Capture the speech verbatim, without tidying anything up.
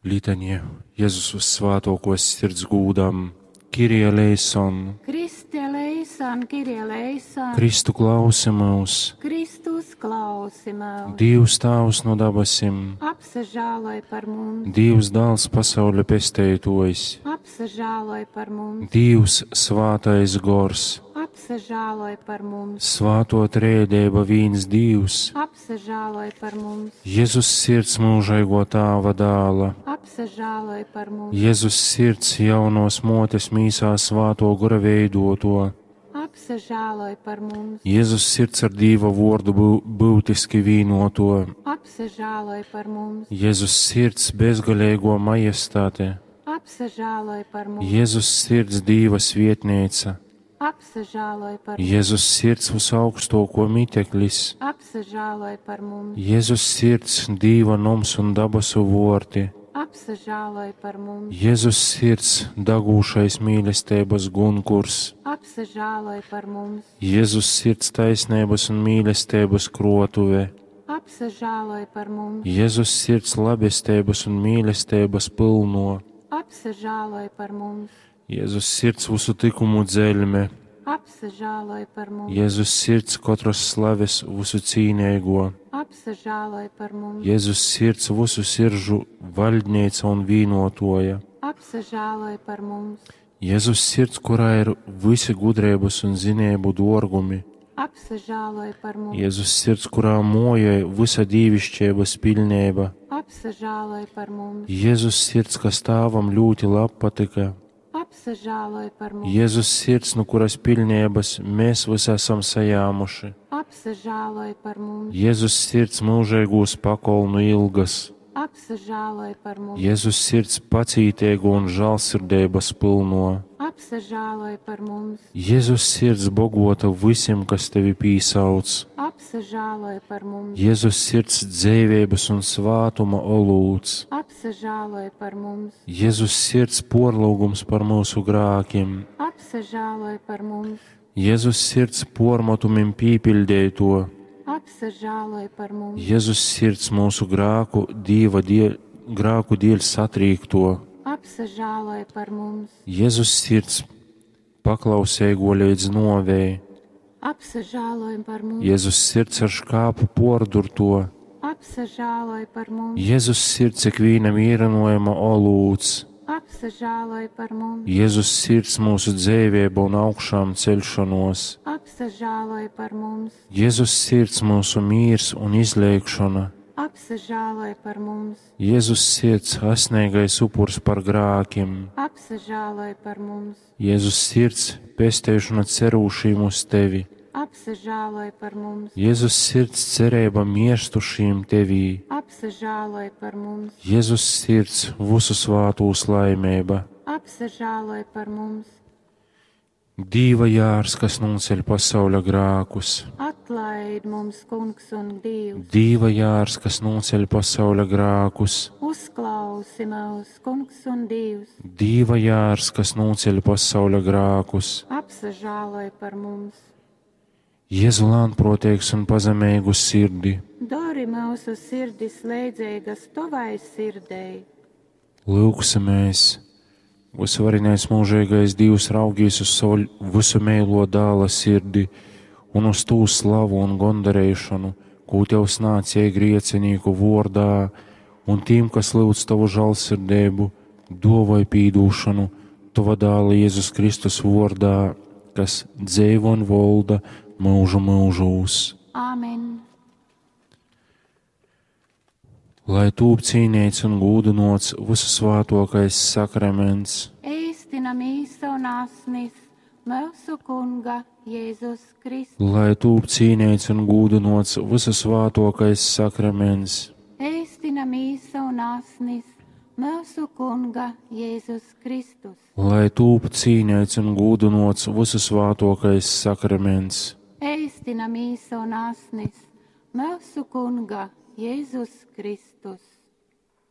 Litanija Jezus Vyssvātōkōs Sirds gūdam. Kyrie eleison. Christe eleison, Kyrie eleison. Kristu klausi myus. Kristus klausi myus. Dīvs Tāvs nu dabasim. Apsažāloj par mums. Dīvs Dāls pasauļa pesteitōjs. Apsažāloj par mums. Dīvs Svātais Gors. Apsažāloj par mums. Svātō Trejadeiba vīns Dīvs. Apsažāloj par mums. Jezus Sirds myužeigō Tāva dāla. Apsažāloj par mums. Jezus Sirds jaunōs mōtes mīsā Svātō Gora veidōto. Apsažāloj par mums. Jezus Sirds ar Dīva vōrdu byutiski vīnōto. Apsažāloj par mums. Jezus Sirds bezgaleigō majestate. Apsažāloj par mums. Jezus Sirds Dīva svietneica. Apsažāloj par mums. Jezus Sirds vysaugstōkō miteklis. Apsažāloj par mums. Jezus Sirds Dīva noms un dabasu vōrti. Apsažāloj par mums. Jezus Sirds dagūšais mīlesteibas gunkurs. Apsažāloj par mums. Jezus Sirds taisneibas un mīlesteibas krōtuve. Apsažāloj par mums. Jezus Sirds labesteibas un mīlesteibas pylno. Apsažāloj par mums. Jezus Sirds vysu tykumu dzeļme. Apsažāloj par mums. Jezus Sirds kotras slaves vysu cīneigō. Apsažāloj par mums. Jezus Sirds vysu siržu vaļdneica un vīnōtōja. Apsažāloj par mums. Jezus Sirds, kurā ir visi gudreibas un zineibu dōrgumi. Apsažāloj par mums. Jezus Sirds, kurā mōjoj vysa dīviškeibas piļneiba. Apsažāloj par mums. Jezus Sirds, kas Tāvam ļūti labpatyka. Apsažāloj par mums. Jezus Sirds, nu kuras piļneibas mēs visi esam sajāmuši. Apsažāloj par mums. Jezus Sirds myužeigūs pakolnu ilgas. Apsažāloj par mums. Jezus Sirds pacīteigo un žālsirdeibas pylno. Apsažāloj par mums. Jezus Sirds bogota vysim, kas tevi pīsauc. Apsažāloj par mums. Jezus Sirds dzeiveibas un svātuma olūts. Apsažāloj par mums. Jezus Sirds porlūgums par mūsu grākiem. Apsažāloj par mums. Jezus Sirds pormatumim pīpiļdeito. Apsažāloj par mums. Jezus Sirds mūsu grāku, Dīva dieļ, grāku dēļ satrīkto. Apsažāloj par mums. Jezus Sirds paklauseigo līdz novei. Apsažāloj par mums. Jezus Sirds ar škāpu pordurto. Apsažāloj par mums. Jezus Sirds ikvīna mīrinojuma olūts. Apsažāloj par mums. Jezus Sirds mūsu dzeivēba un augšām ceļšanos. Apsažāloj par mums. Jezus Sirds mūsu mīrs un izlēkšana. Apsažāloj par mums. Jezus Sirds asnīgais upurs par grākiem. Apsažāloj par mums. Jezus Sirds pesteišana cerūšīm uz tevi. Apsažāloj par mums. Jezus Sirds cerība mierstušīm tevī. Apsažāloj par mums. Jezus Sirds visu svātūs laimība. Apsažāloj par mums. Dīva jārs, kas nūceļ pasauļa grākus. Atlaid mums, Kungs un Dievs. Dīva jārs, kas nūceļ pasauļa grākus. Uzklausi mūs, Kungs un Dievs. Dīva jārs, kas nūceļ pasauļa grākus. Apsažāloj par mums. Jēzu lānproteigs un pazemīgu sirdi. Dori mūsu sirdis leidzīgas tavai sirdei. Lūksimies! Visvarenais mūžīgais Dievs raugīs uz savu visu mīlo dāla sirdi un uz tū slavu un gondarēšanu, ko tev snācie griecinīku vordā, un tīm, kas lūdz tavu žālsirdību, dovai pīdūšanu, tava dāla Jēzus Kristus vordā, kas dzeivo un volda mūžu mūžūs. Āmen. Lai tūp cīnīts un gūdinots visu svātokais sakraments. Eistina mīsa un asnis mūsu Kunga Jēzus Kristus. Lai tūp cīnīts un gūdinots visu svātokais sakraments. Eistina mīsa un asnis mūsu Kunga Jēzus Kristus. Lai tūp cīnīts un gūdinots visu svātokais sakraments. Eistina mīsa un asnis mūsu Kunga Jēzus Kristus.